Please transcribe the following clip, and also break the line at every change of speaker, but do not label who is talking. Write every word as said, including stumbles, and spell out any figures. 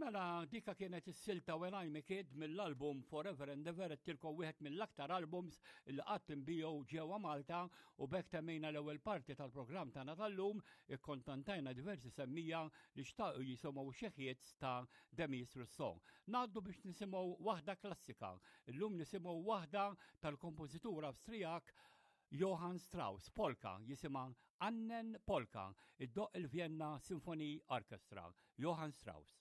Mela, dika kienet is-silta When I'm a Kid mill-album Forever and Ever, tilkom wieħed mill-aktar albums li qatt inbiegħu ġewwa Malta. U b'hekk temmejna l-ewwel parti tal-programm tagħna tal-lum. Ikkontantajna diversi semmiegħa li xtaqu jisimgħu xi hits ta' Demis Rousseau. Ngħaddu biex nisimgħu waħda klassika. Illum nisimgħu waħda tal-kompożitur Awstrijak Johann Strauss, polka, jisimha Annen Polka, iddoqq il-Vienna Symphony Orchestra, Johann Strauss.